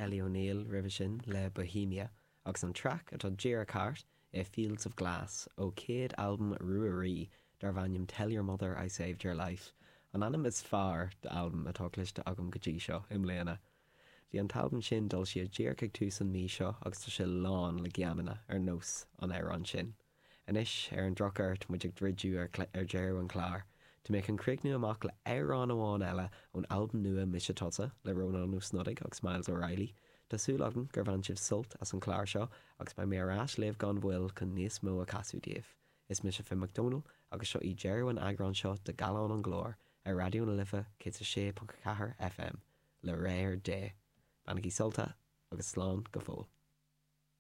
Ellie O'Neill roimhe sin le Bohemia agus an traic atá díreach thart é Fields of Glass ó chéad albam Ruairí darbh ainm Tell Your Mother I Saved Your Life, an ainm is fearr d'albam atá cloiste agam go dtí seo i mbliana. Bhí an t-albam sin d'fhoilsithe díreach ag tús an mí seo agus tá sé lán le geamanna ar nós an amhráin sin. Anois, ar an drochuair, tá muid ag druidiú ar deireadh an chláir. Tá mé chun críochnú amach le amhrán amháin eile ón albam nua Mise Tusa le Rónán Ó Snodaigh agus Myles O'Reilly. Tá súil agam gur bhain sibh sult as an chlár seo agus beidh mé ar ais libh gan mhoill chun níos mó a chasadh daoibh. Is mise Finn Mac Dónaill agus seo í deireadh an eagráin seo de Gallán an Ghlóir ar Raidió na Life 106.4 FM. Le réir Dé. Bainigí sult as agus slán go fóill.